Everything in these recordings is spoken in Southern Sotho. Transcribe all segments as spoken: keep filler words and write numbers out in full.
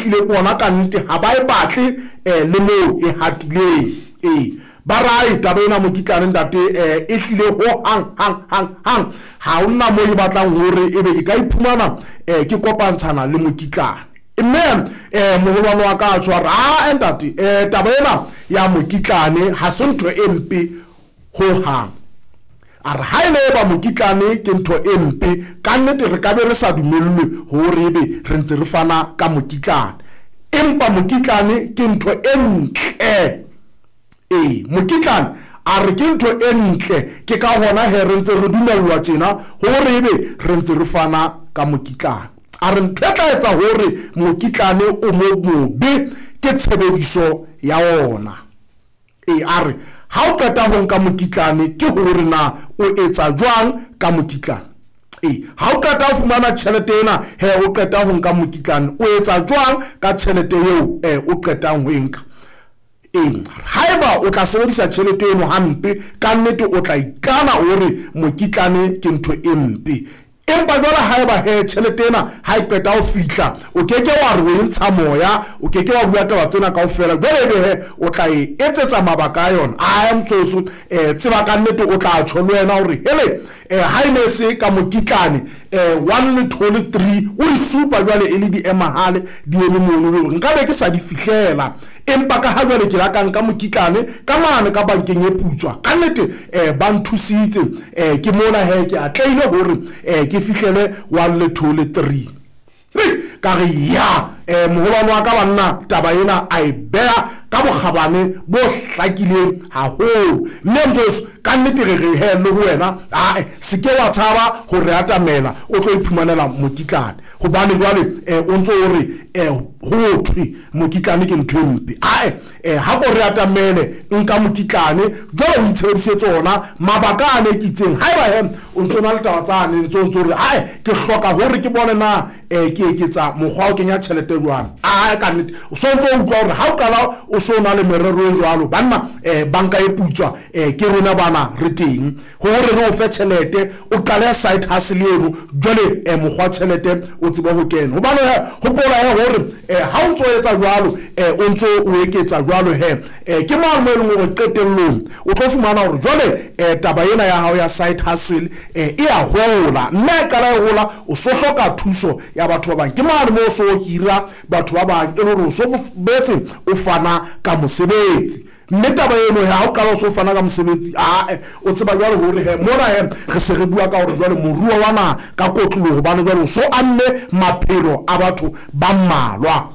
hlile bona ka nnete ha ba e batle eh, le moo e hatileng. Ee, ba rae taba ena mokitlane ntate eh, e hlile ho hang hang hang hang ha hona moo e batlang hore ebe ke ka iphumana eh, ke kopantshana le mokitlane. Mme eh, moholwane wa ka a tshwara a ntate eh, taba ena ya mokitlane ha se ntho e mpe ho hang. A re ha e le ba mokitlane ke ntho e mpe ka nnete re ka be re sa dumellwe hore ebe re ntse re fana ka mokitlane, empa mokitlane ke ntho e ntle. Ee, mokitlane a re ke ntho e ntle, ke ka hona he re ntse re dumellwa tjena hore ebe re ntse re fana ka mokitlane. A re ntho e tla etsa hore mokitlane o mo mobe ke tshebediso ya ona. Ee, a re ha o qeta ho nka mokitlane ke hore na o etsa jwang ka mokitlane. Ee, ha o qeta ho fumana tjhelete ena he o qeta ho nka mokitlane o etsa jwang ka tjhelete eo eh, o qetang ho e nka. Ee, haeba o tla sebedisa tjhelete eno hampe ka nnete o tla ikana hore mokitlane ke ntho e mpe. Empa jwale haeba he tjhelete ena ha e qeta ho fihla o keke wa re o e ntsha moya, o keke wa bua taba tsena kaofela, jwale ebe he o tla e etsetsa mabaka a yona. Ae mososo eh, tseba ka nnete o tla tjho le wena hore hele eh, ha e ne se ka mokitlane eh, one le two le three o di supa jwale e le di emahale di eme mono hore nka be ke sa di fihlela, empa ka ha jwale ke la ka nka mokitlane ka mane ka bankeng e putswa ka nnete eh, ba nthusitse eh, ke mona he ke atlehile hore eh, ke fihlele one le two le three. Ka re ya eh, moholwane wa ka banna taba ena a e beha ka bokgabane bo hlakileng haholo. Mme mososo ka nnete re re he le ho wena ae se ke wa tshaba ho re atamela o tlo iphumanela mokitlane, hobane jwale eh, o ntso o re eh, ho thwe mokitlane ke ntho e mpe. Ae eh, ha ko re atamele nka mokitlane jwale o itshebedisetse ona mabaka a ne ke itseng. Haeba he o ntso na le taba tsane ntso ntso re ae ke hloka hore ke bone na eh, ke eketsa mokgwa o kenya tjhelete jwang. Ae ka nnete o so ntso o utlwa hore ha o qala o so na le merero e jwalo banna eh, banka e putswa eh, ke rona bana re teng hore re o fe tjhelete o qale side hustle eno jwale eh, mokgwa tjhelete o tsebe ho kena. Hobane he hopola he hore eh, ha o ntso etsa jwalo eh, o ntso o eketsa jwalo he eh, ke mang mo e leng hore qetellong o tlo fumana hore jwale eh, taba ena ya hao ya side hustle eh, e a hola, mme e qala e hola o so hloka thuso ya batho ba bang. Ke mane mo o so hira batho ba bang e le hore o so boetse o fana ka mosebetsi. Mme taba eno he ha o qala o so fana ka mosebetsi ae o tseba jwale hore he mona he re se re bua ka hore jwale moruo wa naha ka kotloloho hobane jwale o so amme maphelo a batho ba mmalwa.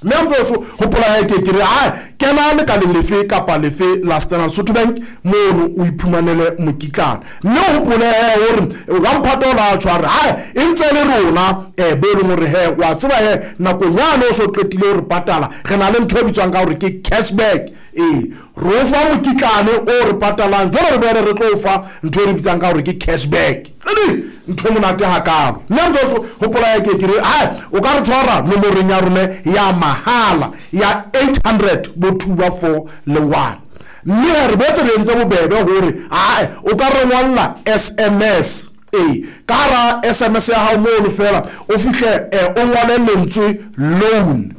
Mme mososo hopola he ke ke re ae kena lekaleng lefe kapa lefe la Standard Lesotho Bank mono o iphumanele mokitlane. Mme o hopole he hore wa mphata o la tshware ae e ntse le rona eh, bo e leng hore he wa tseba he nakong yane o so qetile hore patala re na le ntho e bitswang ka hore ke cashback. Ee, re o fa mokitlane o re patalang jwale re boele re tlo o fa ntho e re bitsang ka hore ke cashback. Edi ntho e monate hakalo. Mme mososo hopola he ke ke re ae o ka re tshwara nomorong ya rona ya mahala ya eight hundred bo two ba four le one. Mme re boetse re entse bobebe hore ae o ka re ngolla S M S. Ee, ka hara S M S ya hao mono fela o fihle eh, o ngole lentswe loan,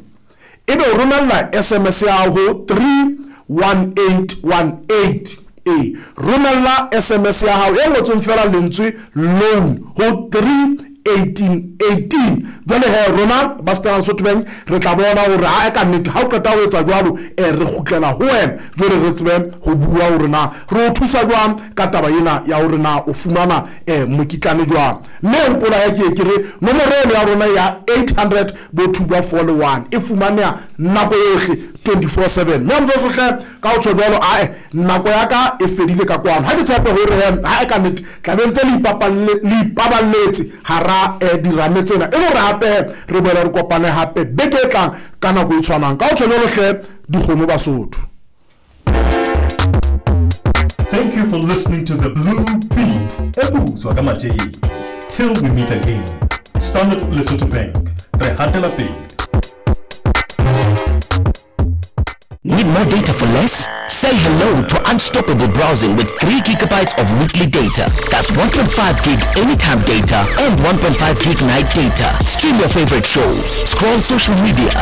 ebe o romella S M S ya hao ho three one eight one eight. Ee, romella S M S ya hao e ngotsweng fela lentswe loan ho three eighteen eighteen. Jwale he rona ba Standard Lesotho Bank re tla bona hore ha e ka nnete ha o qeta ho etsa jwalo eh, re kgutlela ho wena jwale re tsebe ho bua hore na re o thusa jwang ka taba ena ya hore na o fumana eh, mokitlane jwang. Mme hopola he ke ke re nomoro eno ya rona ya eight hundred bo two ba four le one e fumaneha nako yohle twenty-four seven. Mme mososo hle ka ho tjho jwalo ae nako ya ka e fedile ka kwano. Ha ke tshepe hore he ha e ka nnete tla be ntse le ipapalle le ipaballetse hara eh, dirame tsena e le hore hape re boele re kopane hape beke e tlang ka nako e tshwanang. Ka ho tjho jwalo hle dikgomo Basotho. Thank you for listening to the Blue Beat. Ebuzwa ka Matjeng. Till we meet again. Standard Lesotho Bank. Re hatela pele. Need more data for less? Say hello to unstoppable browsing with three gigabytes of weekly data. That's one point five gig anytime data and one point five gig night data. Stream your favorite shows, scroll social media,